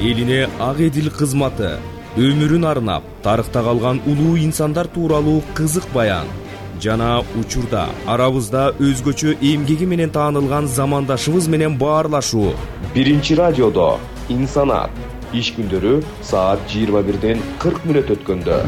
элине ак эдил кызматы, өмүрүн арнап тарыхта калган улуу инсандар тууралуу кызык баян жана учурда арабызда өзгөчө эмгеги менен таанылган замандашыбыз менен баарлашуу. Биринчи радиодо Инсанат. Иш күндөрү саат 21:40 өткөндө.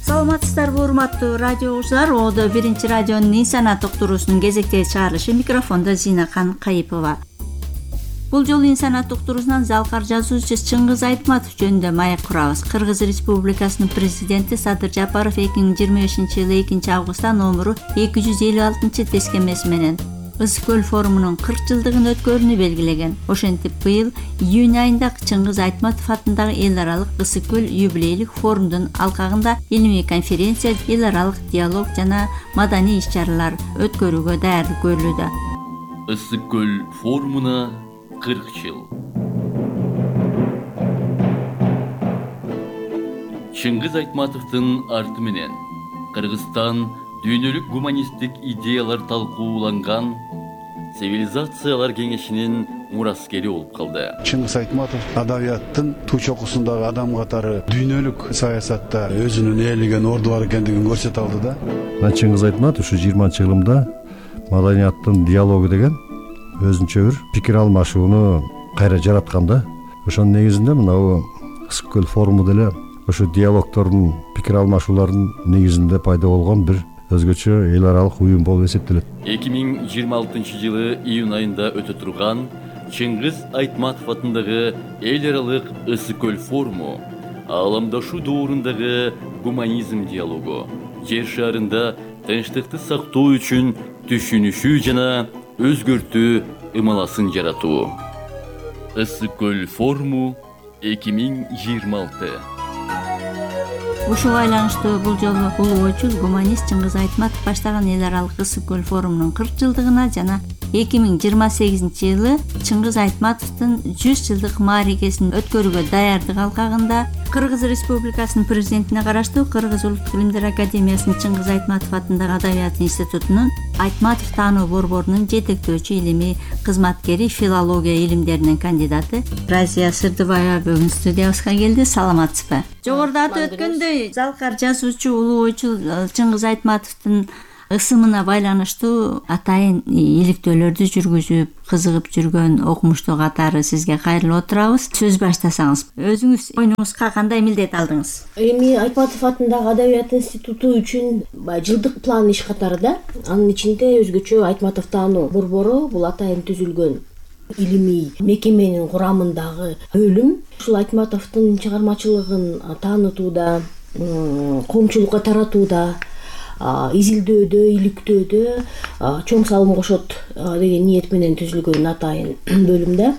Саламатсыздарбы, урматтуу радио угуучулар. Одо биринчи радионун Инсанат уктуруусунун кезектеги чыгарылышы. Микрофондо Зинакан Кайыпова. Бул жолу Инсанат уктуруусунан залкар жазуучу Чыңгыз Айтматов жөнүндө маек курабыз. Кыргыз Республикасынын президенти Садыр Жапаров 2025-жылы 2-августта номуру 256-тескемеси менен Ысык-Көл форумунун 40 жылдыгын өткөрүүнү белгилеген. Ошентип быйыл июнь айында Чыңгыз Айтматов атындагы эл аралык Ысык-Көл юбилейлик форумдун алкагында илимий конференция, эл аралык диалог жана маданий иш-чаралар өткөрүүгө даярдык көрүлүүдө. Ысык-Көл форумуна 40 жыл. Чыңгыз Айтматовдун арты менен Кыргызстан дүйнөлүк гуманисттик идеялар талкууланган цивилизациялар кеңешинин мураскери болуп калды. Чыңгыз Айтматов адабияттын туу чокусундагы адам катары дүйнөлүк саясатта өзүнүн ээлеген орду бар экендигин көрсөтө алды да. Чыңгыз Айтматов ушу 20-жылымда маданияттын диалогу деген өзүнчө бир пикир алмашууну кайра жаратканда, ошонун негизинде мына Ысык-Көл форуму деле ошо диалогтордун, пикир алмашуулардын негизинде пайда болгон бир өзгөчө эл аралык уюм болуп эсептелет. 2026-жылы июнь айында өтө турган Чыңгыз Айтматов атындагы эл аралык Ысык-Көл форуму ааламдашуу доорундагы гуманизм диалогу, жер шарында тынчтыкты сактоо үчүн түшүнүшүү жана өзгөртүү ымаласын жаратуу. Ысык-Көл форуму 2026. Ушуга байланыштуу бул жолу улуу ойчул гуманист Чыңгыз Айтматов баштаган эл аралык Ысык-Көл форумунун 40 жылдыгына жана 2028-жылы Чыңгыз Айтматовдун 100 жылдык маарикесин өткөрүүгө даярдык алкагында Кыргыз Республикасынын президентине караштуу Кыргыз Улуттук илимдер академиясынын Чыңгыз Айтматов атындагы Адабият институтунун Айтматов таануу борборунун жетектөөчү илимий кызматкери, филология илимдеринин кандидаты Разия Сырдыбаева бүгүн студиябызга келди. Саламатсызбы? Жогоруда атып өткөндөй, залкар жазуучу улуу ойчул Чыңгыз Айтматовдун ысымына байланыштуу атайын иликтөөлөрдү жүргүзүп, кызыгып жүргөн окумуштуу катары сизге кайрылып отурабыз. Сөз баштасаңыз, өзүңүз ойуңузга кандай милдет алдыңыз? Эми Айтматов атындагы Адабият институту үчүн жылдык план иш катары да, анын ичинде өзгөчө Айтматов таануу борбору бул атайын түзүлгөн илимий мекеменин курамындагы бөлүм. Ушул Айтматовдун чыгармачылыгын таанытууда, коомчулукка таратууда, изилдөөдө, иликтөөдө чоң салым кошот деген ниет менен түзүлгөн атайын бөлүм да.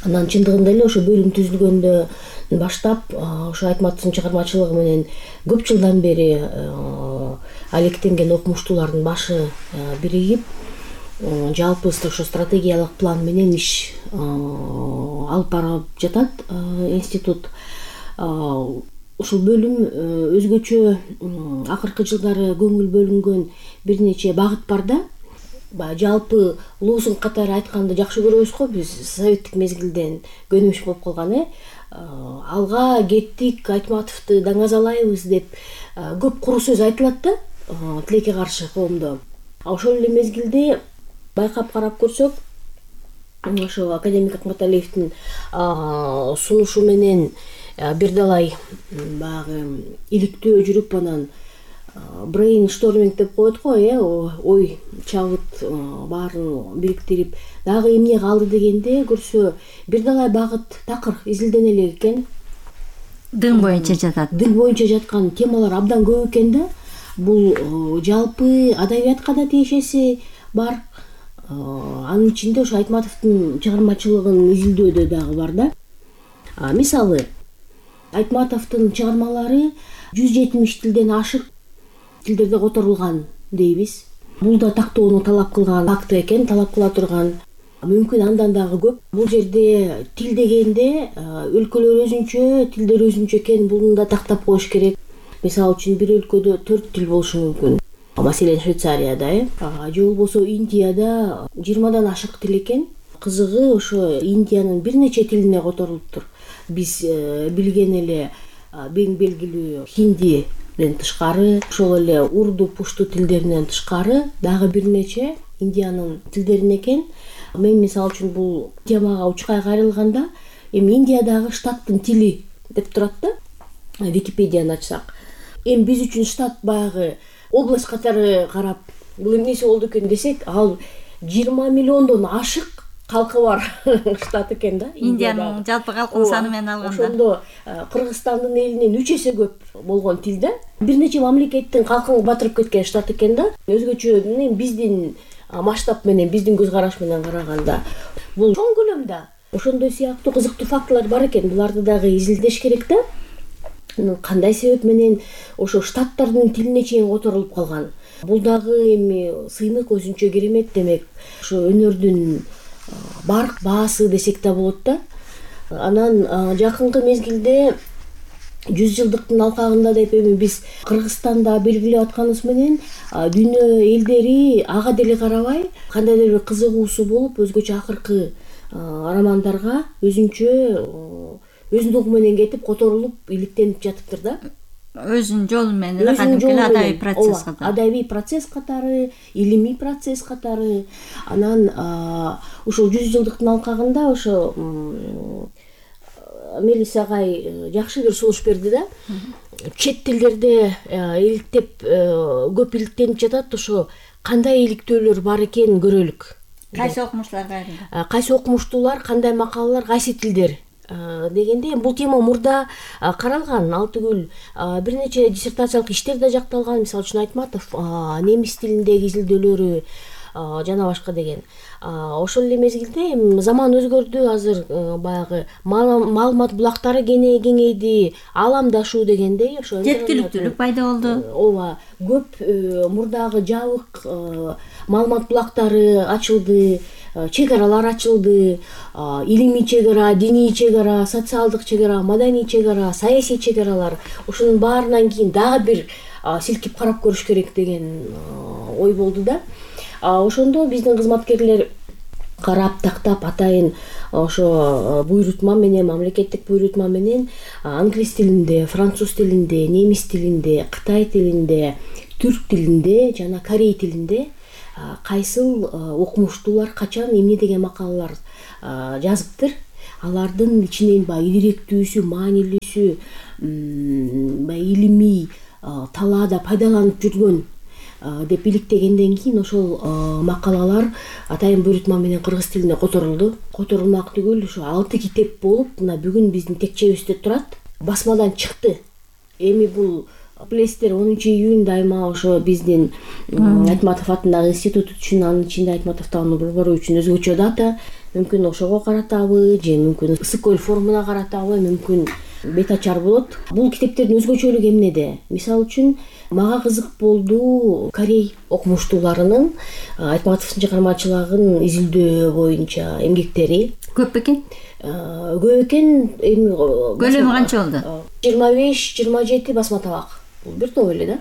Анан чындыгында эле ошо бөлүм түзүлгөндөн баштап ошо Айтматовдун чыгармачылыгы менен көп жылдан бери алектенген окумуштуулардын башы биригип, жалпы ошо стратегиялык план менен иш алып барып жатат институт. Ушул бөлүм өзгөчө акыркы жылдары көңүл бөлүнгөн бир нече багыт бар да. Жалпы лозунг катары айтканды жакшы көрөбүз го, биз советтик мезгилден көнүмүш болуп калган. Алга кеттик, Айтматовду даңазалайбыз деп көп куру сөз айтылат да, тилекке каршы коомдо. Ошол эле мезгилде байкап карап көрсөк, ошо академик Акматалиевдин сунушу менен бир далай баягы иликтөө жүрүп, анан брейншторминг деп коет го, ой чабыт баарын бириктирип дагы эмне калды дегенде көрсө бир далай багыт такыр изилдене элек экен. Дың боюнча жатат. Дың боюнча жаткан темалар абдан көп экен да. Бул жалпы адабиятка да тиешеси бар. Анын ичинде ошо Айтматовдун чыгармачылыгын изилдөөдө дагы бар да. Мисалы, Айтматовдун чыгармалары 170 тилден ашык тилдерде которулган дейбиз. Бул да тактоону талап кылган факт экен, талап кыла турган. Мүмкүн андан дагы көп. Бул жерде тил дегенде өлкөлөр өзүнчө, тилдер өзүнчө экен, буну да тактап коюш керек. Мисалы үчүн бир өлкөдө 4 тил болушу мүмкүн. маселен Швейцарияда же болбосо Индияда 20дан ашык тил экен. Кызыгы ошо Индиянын бир нече тилине которулуптур. Биз билген эле бең белгилүү хиндиден тышкары, ошол эле урду, пушту тилдеринен тышкары дагы бир нече Индиянын тилдерин экен. Мен мисалы үчүн бул темага учкай кайрылганда эми Индиядагы штаттын тили деп турат да, Википедияны ачсак. Эми биз үчүн штат баягы область катары карап, бул эмнеси болду экен десек, ал 20 миллиондон ашык калкы бар штат экен да. Индиянын жалпы калкынын саны менен алганда. Ошондо Кыргызстандын элинен 3 эсе көп болгон тил да. Бир нече мамлекеттин калкын батырып кеткен штат экен да. Өзгөчө биздин масштаб менен, биздин көз караш менен караганда бул чоң көлөмдө ошондой сыяктуу кызыктуу фактылар бар экен. Буларды дагы изилдеш керек да. Кандай себеп менен ошо штаттардын тилине чейин которулуп калган. Бул дагы эми сыймык өзүнчө керемет, демек ошо өнөрдүн барк баасы десек да болот да. Анан жакынкы мезгилде 100 жылдыктын алкагында деп эми биз Кыргызстанда белгилеп атканыбыз менен дүйнө элдери ага деле карабай кандайдыр бир кызыгуусу болуп, өзгөчө акыркы романдарга өзүнүн угу менен кетип которулуп иликтенип жатыптыр да. Өзүнүн жолу менен кадимки адабий процесс катары. Адабий процесс катары, илимий процесс катары. Анан ушул 100 жылдыктын алкагында ошо Мелис агай жакшы бир сунуш берди да. Чет тилдерде иликтеп көп иликтенип жатат, ошо кандай иликтөөлөр бар экенин көрөлүк. Кайсы окумуштуулар кайрылды? Кайсы окумуштуулар, кандай макалалар, кайсы тилдер дегенде бул тема мурда каралган. Ал түгүл бир нече диссертациялык иштер да жакталган. Мисалы үчүн Айтматов немис тилиндеги изилдөөлөрү жана башка деген. Ошол эле мезгилде заман өзгөрдү, азыр баягы маалымат булактары кеңейди, ааламдашуу дегендей ошо жеткиликтүүлүк пайда болду. Ооба, көп мурдагы жабык маалымат булактары ачылды, чек аралар ачылды, илимий чек ара, диний чек ара, социалдык чек ара, маданий чек ара, саясий чек аралар. Ошонун баарынан кийин дагы бир силкип карап көрүш керек деген ой болду да. Ошондо биздин кызматкерлер карап тактап атайын ошо буйрутма менен, мамлекеттик буйрутма менен англис тилинде, француз тилинде, немис тилинде, кытай тилинде, түрк тилинде жана корей тилинде кайсыл окумуштуулар качан эмне деген макалалар жазыптыр. Алардын ичинен баягы ирээктүүсү, маанилүүсү, баягы илимий талаада пайдаланып жүргөн деп иликтегенден кийин ошол макалалар атайын буйрутма менен кыргыз тилине которулду. Которулмак түгүл, ошо 6 китеп болуп, мына бүгүн биздин текчебизде турат. Басмадан чыкты. Эми бул билесиздер 10 июнь айма ошо биздин Айтматов атындагы институт үчүн, анын ичинде Айтматов таануу борбору үчүн өзгөчө дата. Мүмкүн ошого каратабы, же мүмкүн Ысык-Көл форумуна каратабы, мүмкүн бет ачар болот. Бул китептердин өзгөчөлүгү эмнеде? Мисалы үчүн мага кызык болду корей окумуштууларынын Айтматовдун чыгармачылыгын изилдөө боюнча эмгектери. Көп бекен? Көп экен. Эми көлөмү канча болду? 25-27 басма табак. Бул бир топ эле да.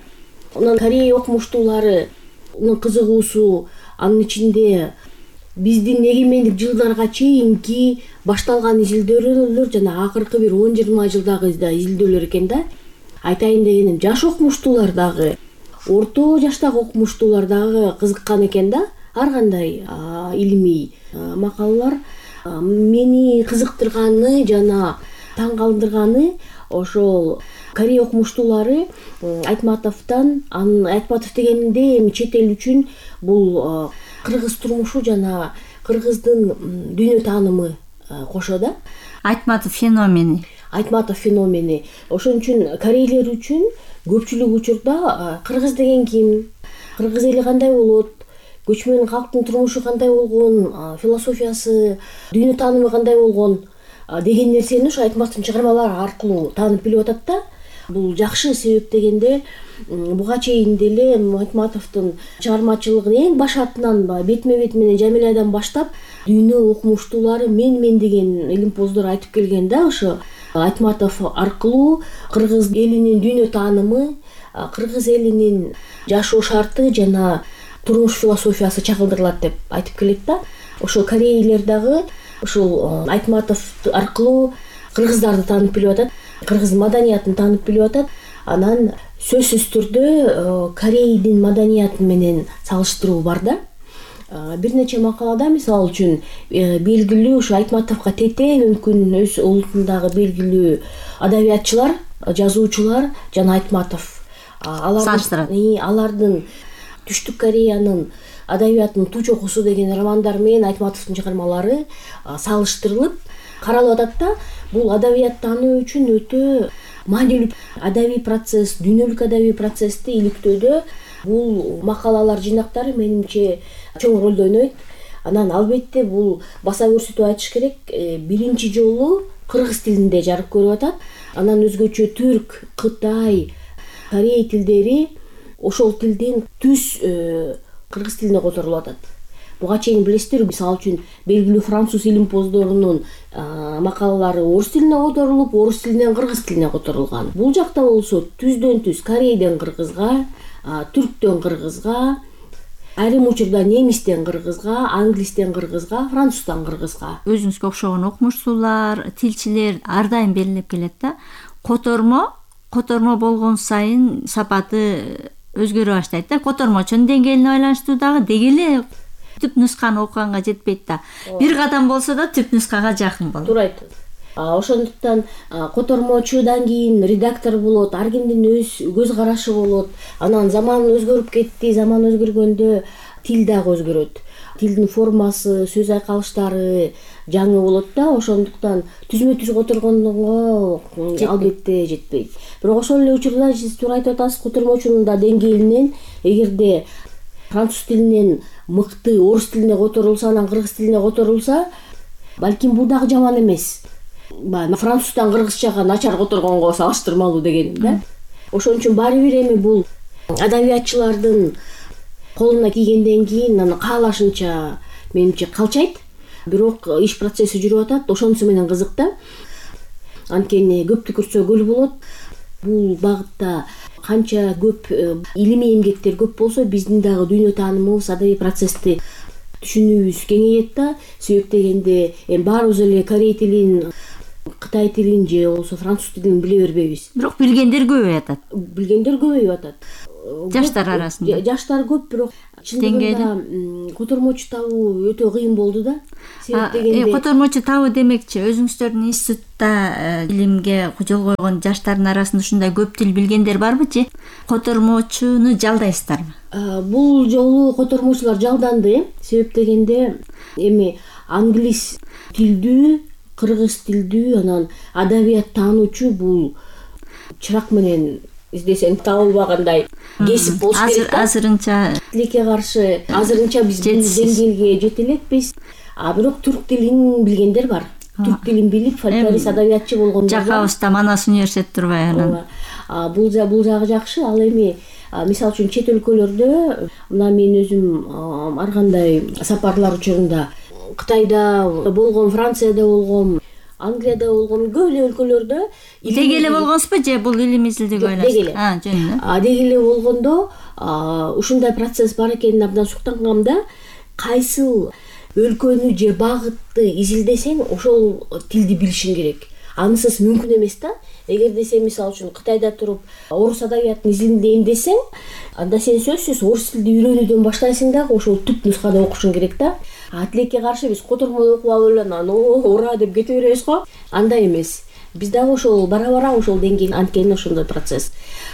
Анан корей окумуштууларынын кызыгуусу анын ичинде биздин эгемендик жылдарга чейинки башталган изилдөөлөр жана акыркы бир 10-20 жылдагы изилдөөлөр экен да. Айтайын дегеним, жаш окумуштуулар дагы, орто жаштагы окумуштуулар дагы кызыккан экен да. Ар кандай илимий макалалар. Мени кызыктырганы жана таң калтырганы ошол корей окумуштуулары Айтматовдон, анын Айтматов дегенде эми чет эл үчүн бул кыргыз турмушу жана кыргыздын дүйнө таанымы кошо да. Айтматов феномени. Айтматов феномени. Ошон үчүн корейлер үчүн көпчүлүк учурда кыргыз деген ким, кыргыз эли кандай болот, көчмөн калктын турмушу кандай болгон, философиясы, дүйнө таанымы кандай болгон деген нерсени ошо Айтматовдун чыгармалары аркылуу таанып билип атат да. Бул жакшы себеп дегенде буга чейин деле Айтматовдун чыгармачылыгын эң башатынан бетме бет менен Жамилядан баштап дүйнө окумуштуулары мен деген илимпоздор айтып келген да. Ошо Айтматов аркылуу кыргыз элинин дүйнө таанымы, кыргыз элинин жашоо шарты жана турмуш философиясы чагылдырылат деп айтып келет да. Ошо корейлер дагы ушул Айтматов аркылуу кыргыздарды таанып билип атат, кыргыз маданиятын таанып билип атат. Анан сөзсүз түрдө Корейдин маданияты менен салыштыруу бар да. Бир нече макалада, мисалы үчүн, белгилүү ушу Айтматовго тете мүмкүн өз улутундагы белгилүү адабиятчылар, жазуучулар жана Айтматов алардын Түштүк Кореянын адабиятынын Туу чокусу деген романдары менен Айтматовдун чыгармалары салыштырылып каралып атат да. Бул адабияттануу үчүн өтө маанилүү адабий процесс, дүйнөлүк адабий процессти иликтөөдө бул макалалар жинактары менимче чоң ролду ойнойт. Анан албетте бул баса көрсөтүп айтыш керек, биринчи жолу кыргыз тилинде жарык көрүп атат. Анан өзгөчө түрк, кытай, корей тилдери ошол тилден түз кыргыз тилине которулуп атат. Буга чейин билесиздер, мисалы үчүн белгилүү француз илимпоздорунун макалалары орус тилине которулуп, орус тилинен кыргыз тилине которулган. Бул жакта болсо түздөн түз корейден кыргызга, түрктөн кыргызга, айрым учурда немистен кыргызга, англистен кыргызга, француздан кыргызга. Өзүңүзгө окшогон окумуштуулар, тилчилер ар дайым белгилеп келет да. Котормо болгон сайын сапаты өзгөрө баштайт да. Котормочунун деңгээлине байланыштуу дагы деги эле түп нусканы окуганга жетпейт да. Бир кадам болсо да түп нускага жакын болот. Туура айтты. Ошондуктан котормочудан кийин редактор болот, ар кимдин өз көз карашы болот. Анан заман өзгөрүп кетти, заман өзгөргөндө тил дагы өзгөрөт. Тилдин формасы, сөз айкалыштары жаңы болот да. Ошондуктан түзмө-түз которгондого албетте жетпейт. Бирок ошол эле учурда сиз туура айтып атасыз, котормочунун да деңгээлинен эгерде француз тилинен мыкты орус тилине которулса, анан кыргыз тилине которулса, балким бул дагы жаман эмес. Француздан кыргызчага начар которгонго салыштырмалуу дегеним да. Ошон үчүн баары бир эми бул адабиятчылардын колуна кийгенден кийин аны каалашынча менимче калчайт. Бирок иш процесси жүрүп атат, ошонусу менен кызык да. Анткени көптү көрсө көл болот. Бул багытта канча көп илимий эмгектер көп болсо, биздин дагы дүйнө таанымыбыз, адабий процессти түшүнүүбүз кеңейет да. Себеп дегенде баарыбыз эле корей тилин, кытай тилин же болбосо француз тилин биле бербейбиз. Бирок билгендер көбөйүп атат. Жаштар арасында. Жаштар көп, бирок чындыгында котормочу табуу өтө кыйын болду да. Себеп дегенде котормочу табуу демекчи, өзүңүздөрдүн институтта илимге жол койгон жаштардын арасында ушундай көп тил билгендер барбы же котормочуну жалдайсыздарбы? Бул жолу котормочулар жалданды. Себеп дегенде эми англис тилдүү, кыргыз тилдүү, анан адабият таануучу бул чырак менен издесең табылбагандай кесип болуш керек да. Азырынча тилекке каршы азырынча биз бул деңгээлге жете элекпиз. Бирок түрк тилин билгендер бар. Түрк тилин билип, фольклорист адабиятчы болгондор бар. Жакабызда Манас университет турбайбы анан? Бул жагы жакшы. Ал эми мисалы үчүн чет өлкөлөрдө, мына мен өзүм ар кандай сапарлар учурунда Кытайда болгом, Францияда болгом, Англияда болгом, көп эле өлкөлөрдө деги эле болгонсузбу же бул илим изилдөөгө байланыштуу? Деги эле болгондо ушундай процесс бар экенин абдан суктангам да. Кайсыл өлкөнү же багытты изилдесең, ошол тилди билишиң керек. Анысыз мүмкүн эмес да. Эгерде сен мисалы үчүн Кытайда туруп орус адабиятын изилдейм десең, анда сен сөзсүз орус тилди үйрөнүүдөн баштайсың дагы, ошол түп нускада окушуң керек да. Тилекке каршы биз котормодо окуп алып эле анан ура деп кете беребиз го. Андай эмес. Биз дагы ошол бара-бара ошол деңгээл, анткени ошондой процесс.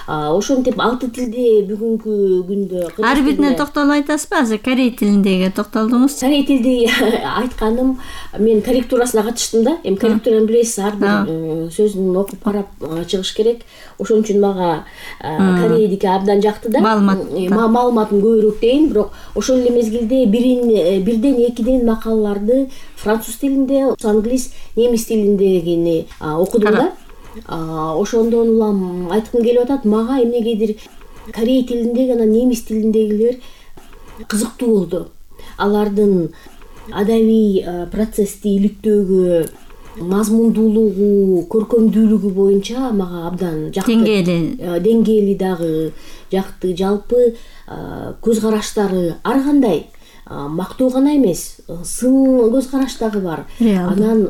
Ошентип 6 тилде бүгүнкү күндө ар бирине токтолуп айтасызбы? Азыр корей тилиндеги токтолдуңуз. Корей тилди айтканым, мен корректурасына катыштым да. Эми корректураны билесиз, ар бир сөзүн окуп карап чыгыш керек. Ошон үчүн мага корейдики абдан жакты да. Маалыматым көбүрөөк дейин, бирок ошол эле мезгилде бирден экиден макалаларды француз тилинде, англис, немис тилиндегини окудум да. Ошондон улам айткым келип атат, мага эмнегедир корей тилиндеги, анан немис тилиндегилер кызыктуу болду. Алардын адабий процессти иликтөөгө мазмундуулугу, көркөмдүүлүгү боюнча мага абдан жакты. Деңгээли дагы жакты. Жалпы көз караштары ар кандай мактоо гана эмес, сын көз караш дагы бар. Анан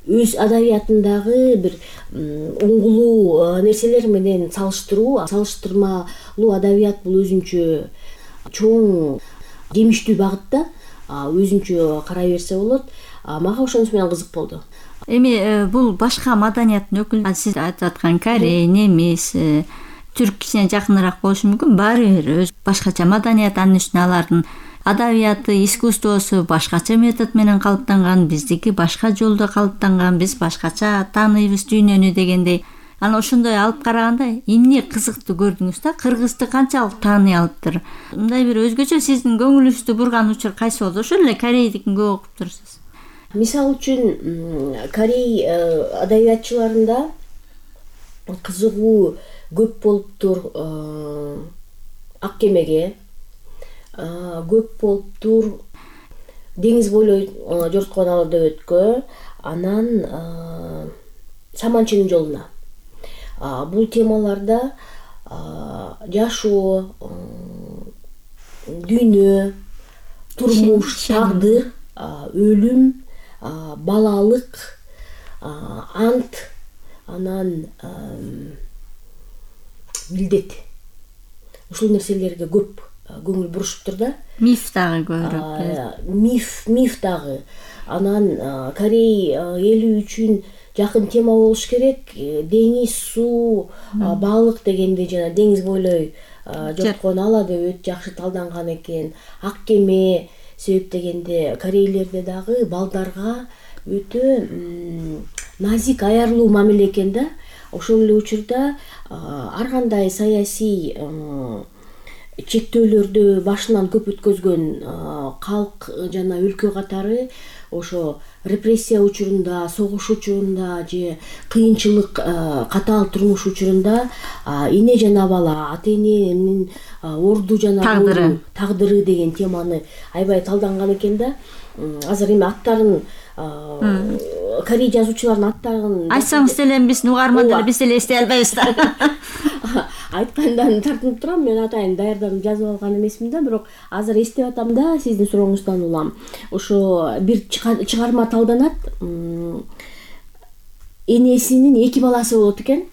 өз адабиятындагы бир уңгулуу нерселер менен салыштырмалуу адабият бул өзүнчө чоң жемиштүү багытта өзүнчө карай берсе болот. Мага ошонусу менен кызык болду. Эми бул башка маданияттын өкүлү, сиз айтып аткан корей, немис, түрк кичине жакыныраак болушу мүмкүн. Баары бир өз башкача маданият, анын үстүнө алардын адабияты, искусствосу башкача метод менен калыптанган, биздики башка жолдо калыптанган, биз башкача тааныйбыз дүйнөнү дегендей. Анан ошондой алып караганда эмне кызыктуу көрдүңүз да? Кыргызды канчалык тааный алыптыр? Мындай бир өзгөчө сиздин көңүлүңүздү бурган учур кайсы болду? Ошол эле корейдикин көп окуп турсуз. Мисалы үчүн корей адабиятчыларында кызыгуу көп болуптур. Ак кемеге көп болуптур. Деңиз бойлой жорткон ала дөбөткө, анан Саманчынын жолуна. Бул темаларда жашоо, дүйнө, турмуш, тагдыр, өлүм, балалык, ант, анан милдет. Ушул нерселерге көп көңүл бурушуптур да. Миф дагы көбүрөөк. Миф дагы. Анан Корей эли үчүн жакын тема болуш керек. Деңиз, суу, балык дегенде жана деңиз бойлой жорткон ала дөбөт жакшы талданган экен. Ак кеме себеп дегенде корейлерде дагы балдарга өтө назик, аярлуу мамиле экен да. Ошол эле учурда ар кандай саясий чектөөлөрдү башынан көп өткөзгөн калк жана өлкө катары ошо репрессия учурунда, согуш учурунда же кыйынчылык, катаал турмуш учурунда эне жана бала, ата эненин орду жана тагдыры деген теманы аябай талданган экен да. Азыр эми аттарын корей жазуучуларынын аттарын айтсаңыз деле биздин угармандар биз деле эстей албайбыз да. Айткандан тартынып турам, мен атайын даярданып жазып алган эмесмин да, бирок азыр эстеп атам да, сиздин сурооңуздан улам. Ошо бир чыгарма талданат. Энесинин 2 баласы болот экен.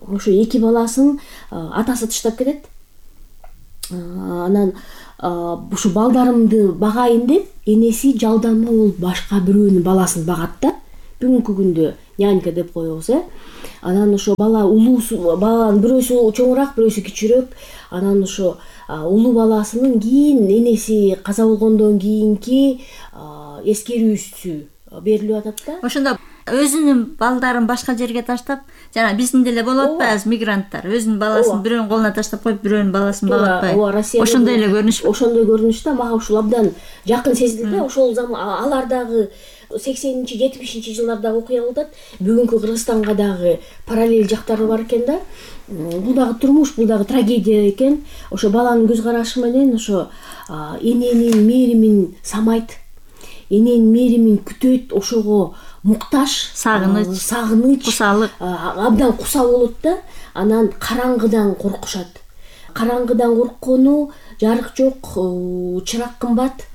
Ошо 2 баласын атасы таштап кетет. Анан ушу балдарымды багайын деп энеси жалданма болуп башка бирөөнүн баласын багат да. Бүгүнкү күндө нянька деп коебуз, Анан ошо бала баланын бирөөсү чоңураак, бирөөсү кичүүрөөк. Анан ошо улуу баласынын кийин энеси каза болгондон кийинки эскерүүсү берилип атат да. Ошондо өзүнүн балдарын башка жерге таштап, жана биздин деле болуп атпайбы мигранттар, өзүнүн баласын бирөөнүн колуна таштап коюп, бирөөнүн баласын багып атпайбы. Ошондой эле көрүнүш. Ошондой көрүнүш да, мага ушул абдан жакын сезилди да. Ошол алар дагы 80-70 жылдардагы окуя болуп атат. Бүгүнкү Кыргызстанга дагы параллель жактары бар экен да. Бул дагы турмуш, бул дагы трагедия экен. Ошо баланын көз карашы менен ошо эненин мээримин самайт, эненин мээримин күтөт, ошого мукташ, сагыныч, кусалык, абдан куса болот да. Анан караңгыдан коркушат. Караңгыдан корккону, жарык жок, чырак кымбат.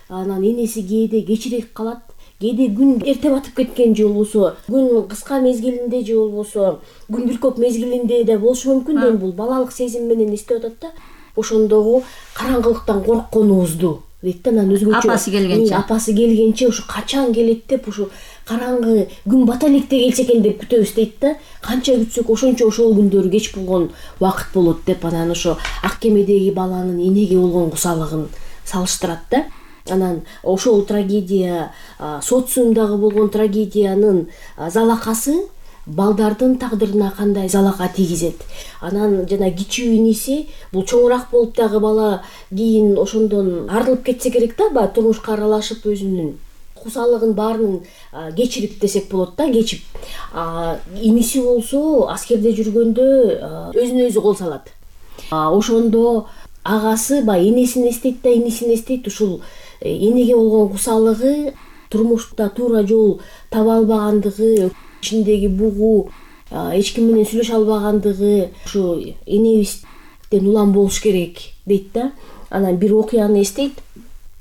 Анан энеси кээде кечирээк калат. Кээде күн эрте батып кеткен же болбосо, күн кыска мезгилинде же болбосо, күн көп мезгилинде да болушу мүмкүн да. Бул балалык сезим менен эстеп атат да. Ошондогу караңгылыктан коркконубузду дейт да. Анан өзгөчө апасы келгенче ушу качан келет деп, ушу караңгы күн бата электе келсе экен деп күтөбүз дейт да. Канча күтсөк ошончо ошол күндөрү кеч болгон убакыт болот деп. Анан ошо ак кемедеги баланын энеге болгон кусалыгын салыштырат да. Анан ошол трагедия, социумдагы болгон трагедиянын залакасы балдардын тагдырына кандай залака тийгизет. Анан жана кичүү иниси, бул чоңураак болуп дагы бала кийин ошондон арылып кетсе керек да, баягы турмушка аралашып өзүнүн кусалыгын баарын кечирип десек болот да, кечип. Иниси болсо аскерде жүргөндө өзүнө өзү кол салат. Ошондо агасы баягы энесин эстейт да, инисин эстейт. Ушул энеге болгон кусалыгы турмушта туура жол таба албагандыгы, ичиндеги бугу, эч ким менен сүйлөшө албагандыгы ушу энебизден улам болуш керек дейт да. Анан бир окуяны эстейт.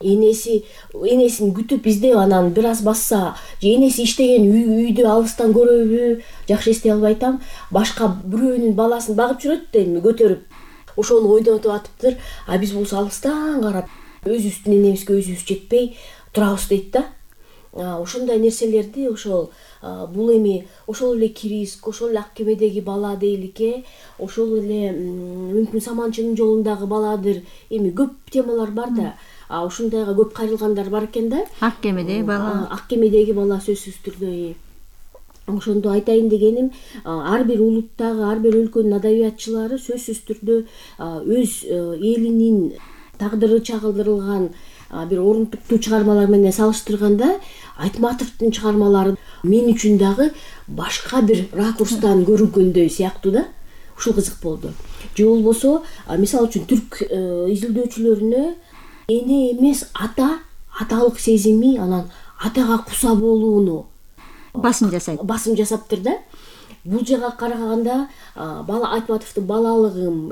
Энесин күтүп издеп, анан бир аз басса, же энеси иштеген үйдү алыстан көрөбү, жакшы эстей албай атам. Башка бирөөнүн баласын багып жүрөт эми көтөрүп. Ошону ойнотуп атыптыр. А биз болсо алыстан карап, өзүбүздүн энебизге өзүбүз жетпей турабыз дейт да. Ошондой нерселерди ошол бул эми ошол эле Кириск, ошол эле ак кемедеги бала дейликке, ошол эле мүмкүн Саманчынын жолундагы баладыр. Эми көп темалар бар да. Ушундайга көп кайрылгандар бар экен да. Ак кемедеги бала. Ак кемедеги бала сөзсүз түрдө. Ошондо айтайын дегеним, ар бир улуттагы, ар бир өлкөнүн адабиятчылары сөзсүз түрдө өз элинин тагдыры чагылдырылган бир орунтуктуу чыгармалар менен салыштырганда, Айтматовдун чыгармалары мен үчүн дагы башка бир ракурстан көрүнгөндөй сыяктуу да. Ушул кызык болду. Же болбосо, мисалы үчүн түрк изилдөөчүлөрүнө эне эмес аталык сезими, анан атага куса болууну басым жасаптыр да. Бул жака караганда бала Айтматовдун балалыгым,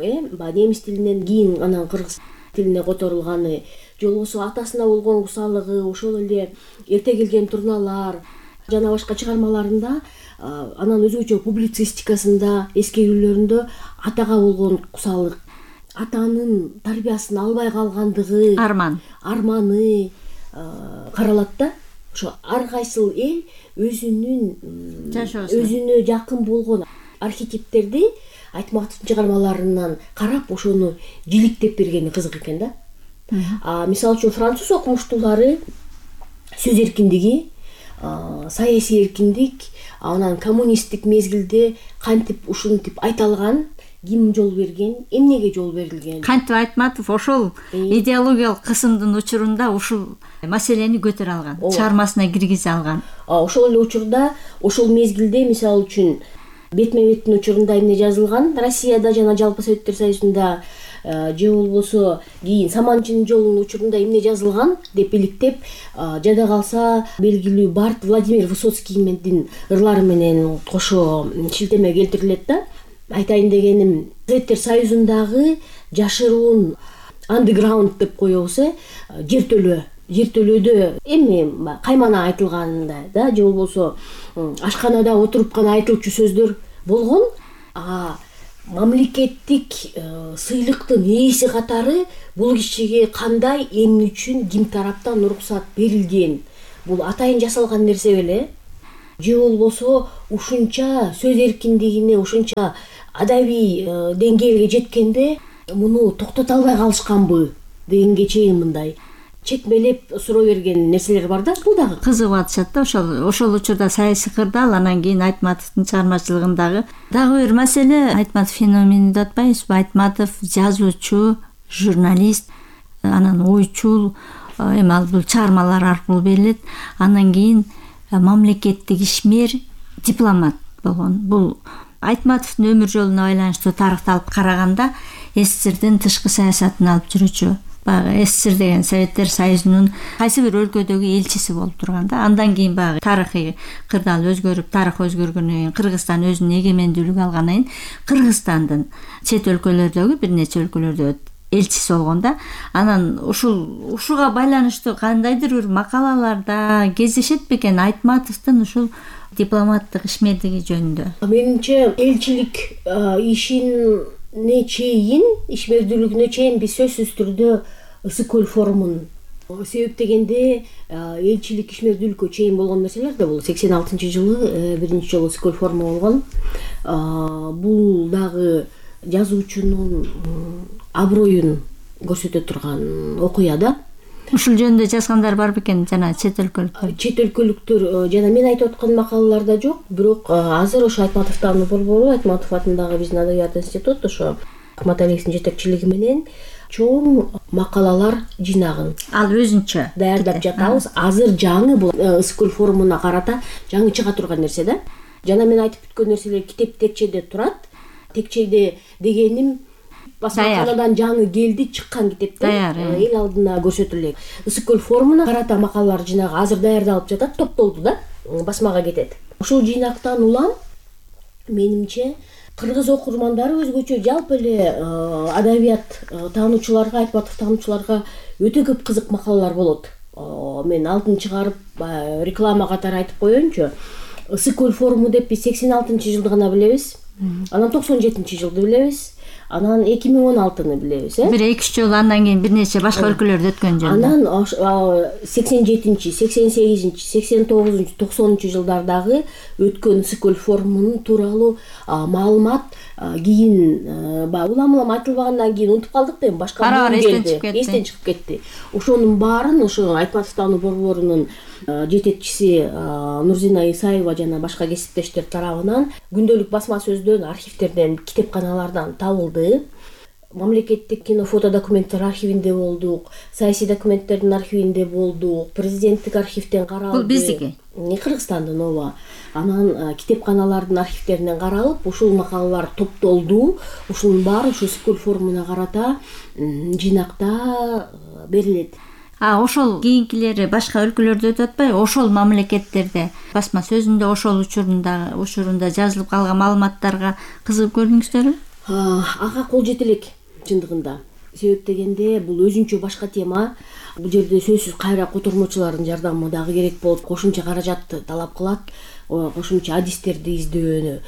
немис тилинен кийин анан кыргыз тилине которулганы, же болбосо атасына болгон кусалыгы, ошол эле эрте келген турналар жана башка чыгармаларында, анан өзгөчө публицистикасында, эскерүүлөрүндө атага болгон кусалык, атанын тарбиясын албай калгандыгы, арманы каралат да. Ошо ар кайсыл эл өзүнө жакын болгон архетиптерди Айтматовдун чыгармаларынан карап, ошону жиликтеп бергени кызык экен да. Мисалы үчүн француз окумуштуулары сөз эркиндиги, саясий эркиндик, анан коммунисттик мезгилде кантип ушинтип айта алган, ким жол берген, эмнеге жол берилген. Кантип Айтматов ошол идеологиялык кысымдын учурунда ушул маселени көтөрө алган, чыгармасына киргизе алган. Ошол эле учурда, ошол мезгилде мисалы үчүн бетме-беттин учурунда эмне жазылган Россияда жана жалпы Советтер Союзунда, же болбосо кийин Саманчынын жолунун учурунда эмне жазылган деп иликтеп, жада калса белгилүү Барт Владимир Высоцкийдин ырлары менен кошо шилтеме келтирилет да. Айтайын дегеним, Советтер Союзундагы жашыруун андеграунд деп коебуз, жертөлөөдө эми каймана айтылганда да, же болбосо ашканада отуруп гана айтылчу сөздөр болгон. Мамлекеттик сыйлыктын ээси катары бул кишиге кандай, эмне үчүн, ким тараптан уруксат берилген, бул атайын жасалган нерсе беле. Же болбосо ушунча сөз эркиндигине, ушунча адабий деңгээлге жеткенде муну токтото албай калышканбы дегенге чейин мындай чекмелеп суроо берген нерселер бар да. Бул дагы кызыгып атышат да. Ошол учурда саясий кырдаал, анан кийин Айтматовдун чыгармачылыгындагы дагы бир маселе, Айтматов феномени деп атпайбызбы? Айтматов жазуучу, журналист, анан ойчул, эми ал бул чыгармалар аркылуу берилет. Анан кийин мамлекеттик ишмер, дипломат болгон. Бул Айтматовдун өмүр жолуна байланыштуу тарыхты алып караганда СССРдин тышкы саясатын алып жүрүүчү. Баягы СССР деген Советтер Союзунун кайсы бир өлкөдөгү элчиси болуп турган да. Андан кийин баягы тарыхый кырдаал өзгөрүп, тарых өзгөргөндөн кийин Кыргызстан өзүнүн эгемендүүлүгүн алгандан кийин Кыргызстандын чет өлкөлөрдөгү бир нече өлкөлөрдө элчиси болгон да. Анан ушуга байланыштуу кандайдыр бир макалаларда кездешет бекен Айтматовдун ушул дипломаттык ишмердиги жөнүндө? Менимче элчилик ишине чейин, ишмердүүлүгүнө чейин биз сөзсүз түрдө Ысык көл форумун себептегенде, элчилик ишмердүүлүккө чейин болгон нерселер да бул 86-жылы биринчи жолу Ысык көл форуму болгон. Бул дагы жазуучунун аброюн көрсөтө турган окуя да. Ушул жөнүндө жазгандар бар бекен жана чет өлкөлүктөр жана мен айтып аткан макалаларда жок, бирок азыр ошо Айтматовдун борбору, Айтматов атындагы биздин Адабият институт ошо Акматалиевдин жетекчилиги менен чоң макалалар жыйнагын ал өзүнчө даярдап жатабыз. Азыр жаңы бул Ысык көл форумуна карата жаңы чыга турган нерсе да. Жана мен айтып бүткөн нерселер китеп текчеде турат. Текчеде дегеним басмаканадан жаңы келди, чыккан китепте Даяр, эл алдына көрсөтүлөт. Ысык көл форумуна карата макалалар жинагы азыр даярдалып жатат, топтолду да, басмага кетет. Ушул жыйнактан улам менимче кыргыз окурмандары өзгөчө жалпы эле адабият таануучуларга, Айтматов таануучуларга өтө көп кызык макалалар болот. Мен алдын чыгарып реклама катары айтып коеюнчу. Ысык көл форуму деп биз 86-жылды гана билебиз. Анан 97-жылды билебиз. Анан 2016-ны билебиз, Бир 2-3 жолу андан кийин бир нече башка өлкөлөрдө өткөн жөн. Анан 87-чи, 88-чи, 89-чу, 90-чу жылдардагы өткөн Ысык көл форумунун тууралуу маалымат кийин улам айтылбагандан кийин унутуп калдык да, башка эстен чыгып кетти. Ошонун баарын ошо Айтматов таануу борборунун жетекчиси Нурзина Исаева жана башка кесиптештер тарабынан күндөлүк басма сөздөн, архивдерден, китепканалардан табылды. Мамлекеттик кино фото документтер архивинде болдук, саясий документтердин архивинде болдук, президенттик архивден каралды. Бул биздики? Кыргызстандын, ооба. Анан китепканалардын архивдеринен каралып, ушул макалалар топтолду. Ушунун баары ушу Ысык көл форумуна карата жыйнакта берилет. Ошол кийинкилери башка өлкөлөрдө өтүп атпайбы? Ошол мамлекеттерде басма сөзүндө ошол учурунда жазылып калган маалыматтарга кызыгып көрдүңүздөрбү? Ага кол жете элек чындыгында. Себеп дегенде бул өзүнчө башка тема. Бул жерде сөзсүз кайра котормочулардын жардамы дагы керек болуп, кошумча каражатты талап кылат. Кошумча адистерди издөө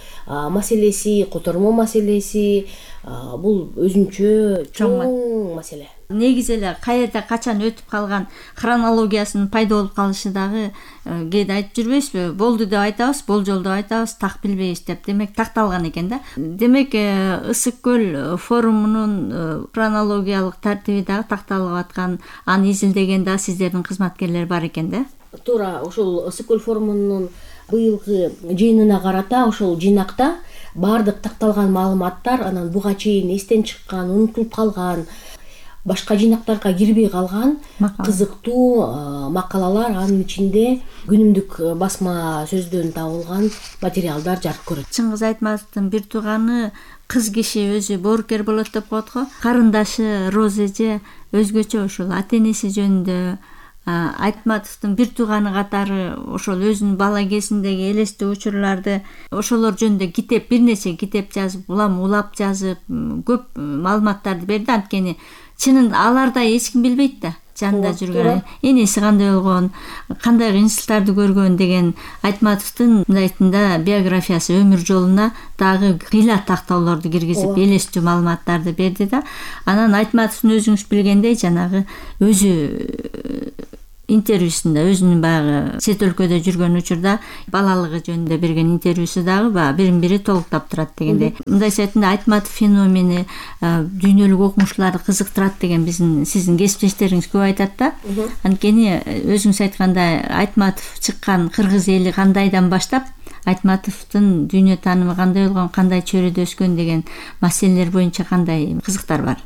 маселеси, котормо маселеси бул өзүнчө чоң маселе. Негизи эле каерде качан өтүп калган хронологиясынын пайда болуп калышы дагы кээде айтып жүрбөйсүзбү? Болду деп айтабыз, болжол деп айтабыз, так билбейбиз деп. Демек такталган экен да. Демек Ысык көл форумунун хронологиялык тартиби дагы такталып аткан, аны изилдеген да сиздердин кызматкерлер бар экен да. Туура, ошол Ысык көл форумунун быйылкы жыйынына карата ошол жыйнакта баардык такталган маалыматтар, анан буга чейин эстен чыккан, унутулуп калган, башка жыйнактарга кирбей калган кызыктуу макалалар, анын ичинде күнүмдүк басма сөздөн табылган материалдар жарык көрөт. Чыңгыз Айтматовдун бир тууганы кыз киши өзү боорукер болот деп коет го. Карындашы Роза эже өзгөчө ошол ата энеси жөнүндө, Айтматовдун бир тууганы катары ошол өзүнүн бала кезиндеги элестүү учурларды ошолор жөнүндө бир нече китеп жазып, улап жазып, көп маалыматтарды берди. Анткени чынын алардай эч ким билбейт да, жанында жүргөн, энеси кандай болгон, кандай кыйынчылыктарды көргөн деген Айтматовдун мындай айтканда биографиясы, өмүр жолуна дагы кыйла тактоолорду киргизип, элестүү маалыматтарды берди да. Анан Айтматовдун өзүңүз билгендей жанагы өзү интервьюсунда, өзүнүн баягы чет өлкөдө жүргөн учурда балалыгы жөнүндө берген интервьюсу дагы бирин бири толуктап турат дегендей. Мындайча айтканда Айтматов феномени дүйнөлүк окумуштууларды кызыктырат деген сиздин кесиптештериңиз көп айтат да. Анткени өзүңүз айткандай Айтматов чыккан кыргыз эли кандайдан баштап, Айтматовдун дүйнө таанымы кандай болгон, кандай чөйрөдө өскөн деген маселелер боюнча кандай кызыктар бар?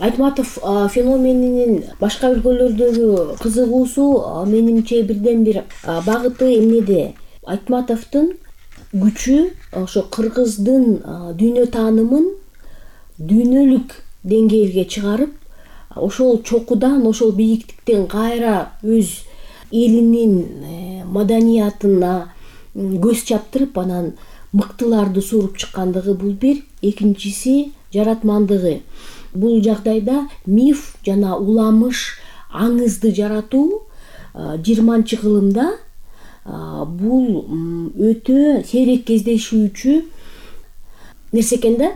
Айтматов феноменинин башка өлкөлөрдөгү кызыгуусу менимче бирден бир багыты эмнеде? Айтматовдун күчү ошо кыргыздын дүйнө таанымын дүйнөлүк деңгээлге чыгарып, ошол чокудан, ошол бийиктиктен кайра өз элинин маданиятына көз чаптырып, анан мыктыларды сууруп чыккандыгы бул бир. Экинчиси жаратмандыгы. Бул жагдайда миф жана уламыш, аңызды жаратуу 20-кылымда бул өтө сейрек кездешүүчү нерсе экен да.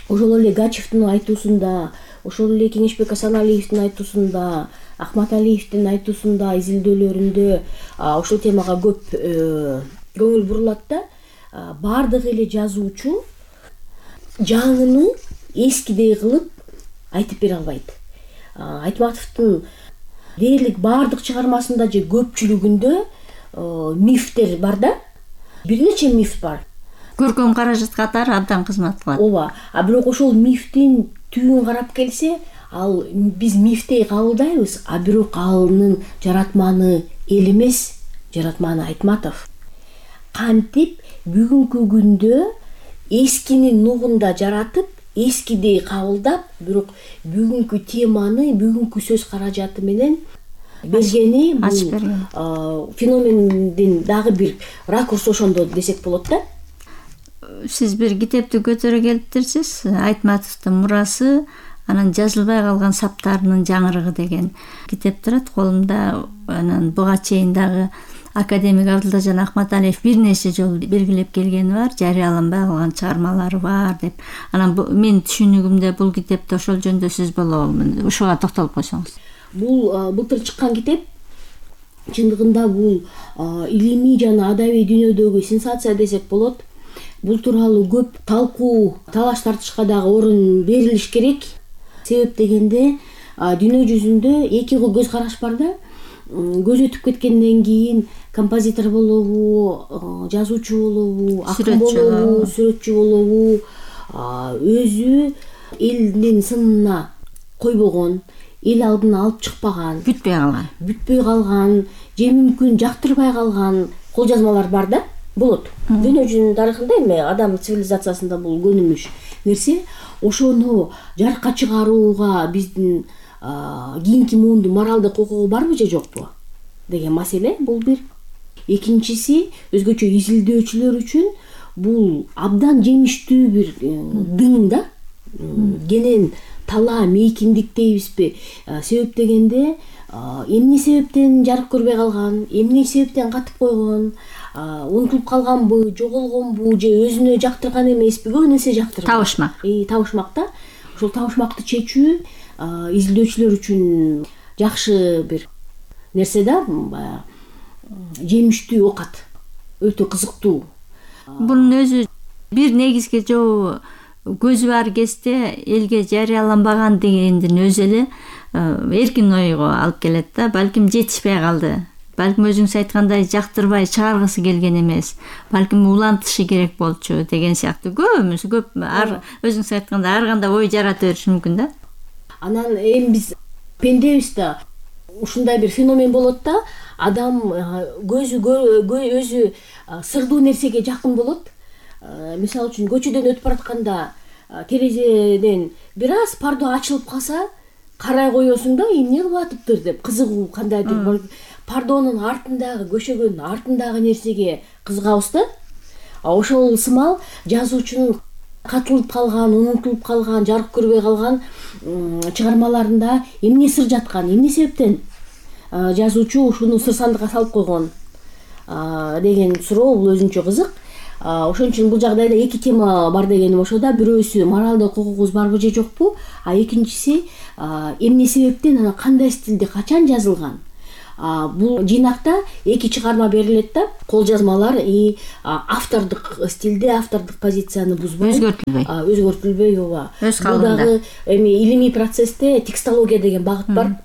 Ошол эле Гачевдин айтуусунда, ошол эле Кеңешбек Асаналиевдин айтуусунда, Ахматалиевдин айтуусунда, изилдөөлөрүндө ошол темага көп көңүл бурулат да. Бардык эле жазуучу жаңыны эскидей кылып айтып бере албайт. Айтматовдун дээрлик бардык чыгармасында же көпчүлүгүндө мифтер бар да. Бир нече миф бар. Көркөм каражат катары абдан кызмат кылат. Ооба. Бирок ошол мифтин түбүн карап келсе, ал биз мифтей кабылдайбыз, бирок анын жаратманы эл эмес, жаратманы Айтматов. Кантип бүгүнкү күндө эскинин нугунда жаратып, эскидей кабылдап, бирок бүгүнкү теманы, бүгүнкү сөз каражаты менен бергени бул феномендин дагы бир ракурсу ошондо десек болот да. Сиз бир китепти көтөрө келиптирсиз, Айтматовдун мурасы, анан жазылбай калган саптарынын жаңырыгы деген китеп турат колумда. Анан буга чейин дагы академик Абдылдажан Акматалиев бир нече жолу белгилеп келгени бар, жарыяланбай калган чыгармалары бар деп. Анан менин түшүнүгүмдө бул китепти ошол жөнүндө сөз болобу? Ушуга токтолуп койсоңуз. Бул былтыр чыккан китеп. Чындыгында бул илимий жана адабий дүйнөдөгү сенсация десек болот. Бул тууралуу көп талкуу, талаш тартышка дагы орун берилиш керек. Себеп дегенде дүйнө жүзүндө эки көз караш бар да. Көз өтүп кеткенден кийин композитор болобу, жазуучу болобу, акын болобу, сүрөтчү болобу, өзү элдин сынына койбогон, эл алдына алып чыкпаган, бүтпөй калган, же мүмкүн жактырбай калган кол жазмалар бар да, болот. Дүйнө жүзүнүн тарыхында эми адам цивилизациясында бул көнүмүш нерсе. Ошону жарыкка чыгарууга биздин кийинки муундун моралдык укугу барбы же жокпу деген маселе бул бир. Экинчиси, өзгөчө изилдөөчүлөр үчүн бул абдан жемиштүү бир дың да. Кенен талаа мейкиндик дейбизби? Себеп дегенде эмне себептен жарык көрбөй калган, эмне себептен катып койгон, унутулуп калганбы, жоголгонбу же өзүнө жактырган эмеспи, көп нерсе жактырган. Табышмак да. Ошол табышмакты чечүү изилдөөчүлөр үчүн жакшы бир нерсе да, жемиштүү оокат, өтө кызыктуу. Бунун өзү бир негизги жобу көзү бар кезде элге жарыяланбаган дегендин өзү эле эркин ойго алып келет да. Балким жетишпей калды, балким өзүңүз айткандай жактырбай чыгаргысы келген эмес, балким улантышы керек болчу деген сыяктуу көп өзүңүз айткандай ар кандай ой жарата бериши мүмкүн да. Анан эми биз пендебиз да, ушундай бир феномен болот да. Адам өзү сырдуу нерсеге жакын болот. Мисалы үчүн көчөдөн өтүп баратканда терезеден бир аз пардо ачылып калса, карай коесуң да, эмне кылып атыптыр деп, кызыгуу кандайдыр пардонун артындагы, көшөгөнүн артындагы нерсеге кызыгабыз да. Ошол сымал жазуучунун катылып калган, унутулуп калган, жарык көрбөй калган чыгармаларында эмне сыр жаткан, эмне себептен жазуучу ушуну сыр сандыкка салып койгон деген суроо бул өзүнчө кызык. Ошон үчүн бул жагдайда эки тема бар дегеним ошо да. Бирөөсү моралдык укугубуз барбы же жокпу, экинчиси эмне себептен, анан кандай стилде, качан жазылган. Бул жыйнакта эки чыгарма берилет да. Кол жазмалар автордук стилде, автордук позицияны бузбай, өзгөртүлбөй, ооба. Бул дагы эми илимий процессте текстология деген багыт бар.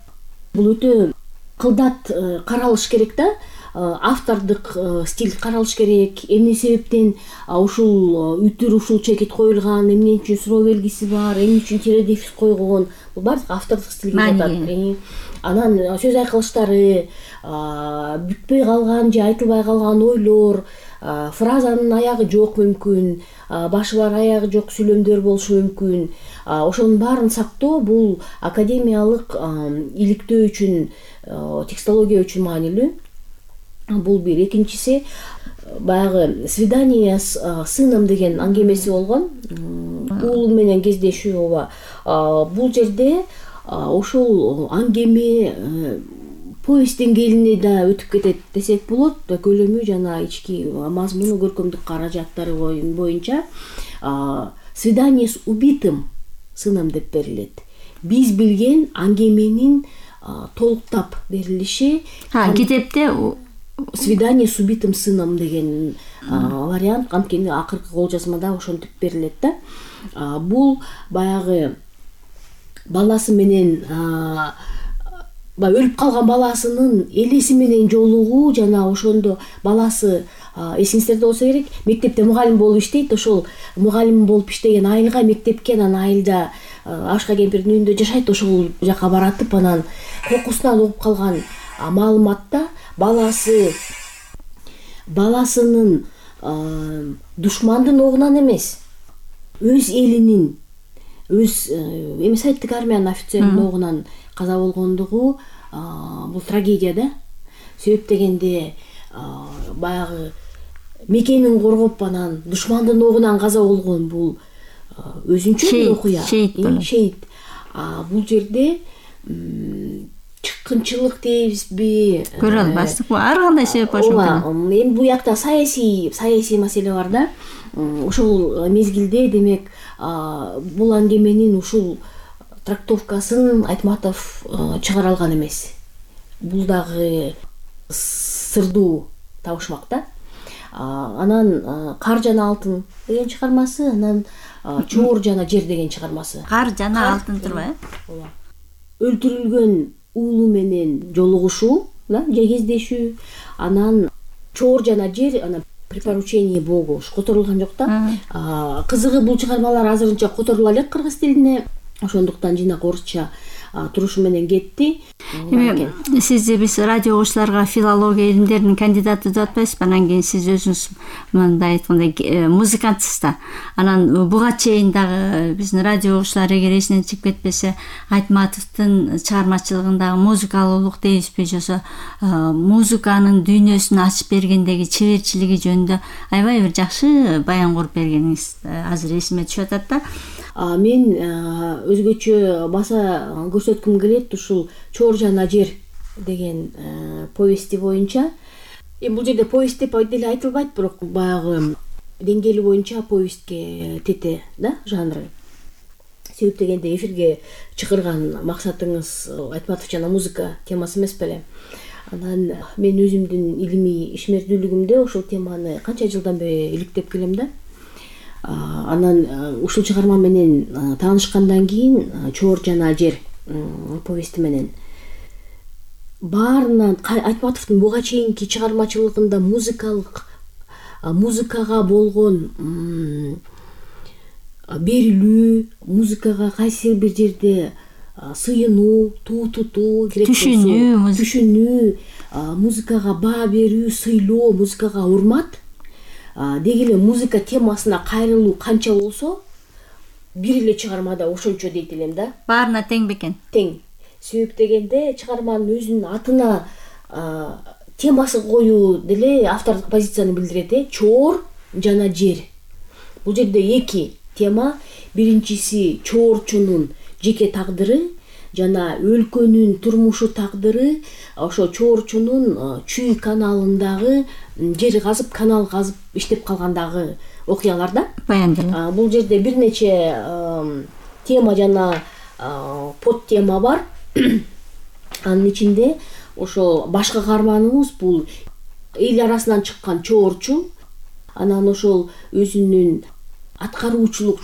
Бул өтө кылдат каралыш керек да. Автордук стиль каралыш керек. Эмне себептен ушул үтүр, ушул чекит коюлган, эмне үчүн суроо белгиси бар, эмне үчүн тире дефис койгон. Бул баардык автордук стилге жатат. Анан сөз айкылыштары, бүтпөй калган же айтылбай калган ойлор, фразанын аягы жок мүмкүн, башы бар аягы жок сүйлөмдөр болушу мүмкүн. Ошонун баарын сактоо бул академиялык иликтөө үчүн, текстология үчүн маанилүү. Бул бир. Экинчиси, баягы «Свидание с сыном» деген аңгемеси болгон. Уулу менен кездешүү, ооба. Бул жерде ошол аңгеме повесть деңгээлине да өтүп кетет десек болот. Көлөмү жана ички мазмуну, көркөмдүк каражаттары боюнча «Свидание с убитым сыном» деп берилет. Биз билген аңгеменин толуктап берилиши. Китепте «Свидание с убитым сыном» деген вариант анткени акыркы кол жазмада ошентип берилет да. Бул баягы баласы менен, өлүп калган баласынын элеси менен жолугуу, жана ошондо баласы, эсиңиздерде болсо керек, мектепте мугалим болуп иштейт. Ошол мугалим болуп иштеген айылга, мектепке, анан айылда Ашка кемпирдин үйүндө жашайт. Ошол жака баратып, анан кокусунан угуп калган маалыматта баласынын душмандын огунан эмес, өз элинин өз эми советтик армиянын офицеринин огунан каза болгондугу бул трагедия да. Себеп дегенде баягы мекенин коргоп анан душмандын огунан каза болгон бул өзүнчө бир окуя. Шейит. Бул жерде чыккынчылык дейбизби, көрө албастык, ар кандай себеп болушу мүмкүн. Эми бул жакта саясий маселе бар да. Ошол мезгилде демек бул аңгеменин ушул трактовкасын Айтматов чыгара алган эмес. Бул дагы сырдуу табышмак да. Анан Кар жана алтын деген чыгармасы, анан Чоор жана жер деген чыгармасы. Кар жана алтын турбайбы? Өлтүрүлгөн уулу менен жолугушуу, же кездешүү, анан Чоор жана жер, анан припоручение Богу которулган жок да. Кызыгы бул чыгармалар азырынча которула элек кыргыз тилине, ошондуктан жинак орусча турушу менен кетти. Эми сизди биз радио угуучуларга филология илимдеринин кандидаты деп атпайсызбы? Анан кийин сиз өзүңүз мындай айткандай музыкантсыз да. Анан буга чейин дагы биздин радио угуучулар эгер эсинен чыгып кетпесе, Айтматовдун чыгармачылыгындагы музыкалуулук дейбизби, жосо музыканын дүйнөсүн ачып бергендеги чеберчилиги жөнүндө аябай бир жакшы баян куруп бергениңиз азыр эсиме түшүп атат да. Мен өзгөчө баса көрсөткүм келет ушул Чоор жана жер деген повести боюнча. Бул жерде повесть деп деле айтылбайт, бирок баягы деңгээли боюнча повестке тете да жанры. Себеп дегенде эфирге чыгарган максатыңыз Айтматов жана музыка темасы эмес беле? Анан мен өзүмдүн илимий ишмердүүлүгүмдө ушул теманы канча жылдан бери иликтеп келем да. Анан ушул чыгарма менен таанышкандан кийин Чоор жана жер повести менен баарынан Айтматовдун буга чейинки чыгармачылыгында музыкага болгон берилүү, музыкага кайсы бир жерде сыйынуу, туу тутуу керек болсо, түшүнүү, музыкага баа берүү, сыйлоо, музыкага урмат, деги эле музыка темасына кайрылуу канча болсо, бир эле чыгармада ошончо дейт элем да. Баарына тең бекен? Тең. Себеп дегенде чыгарманын өзүнүн атына темасы коюу деле автордук позицияны билдирет. Чоор жана жер. Бул жерде эки тема. Биринчиси чоорчунун жеке тагдыры жана өлкөнүн турмушу тагдыры. Ошо чоорчунун Чүй каналындагы жер казып, канал казып иштеп калгандагы окуялар да. Баяндалат. Бул жерде бир нече тема жана под тема бар. Анын ичинде ошол башкы каарманыбыз бул эл арасынан чыккан чоорчу. Анан ошол өзүнүн аткаруучулук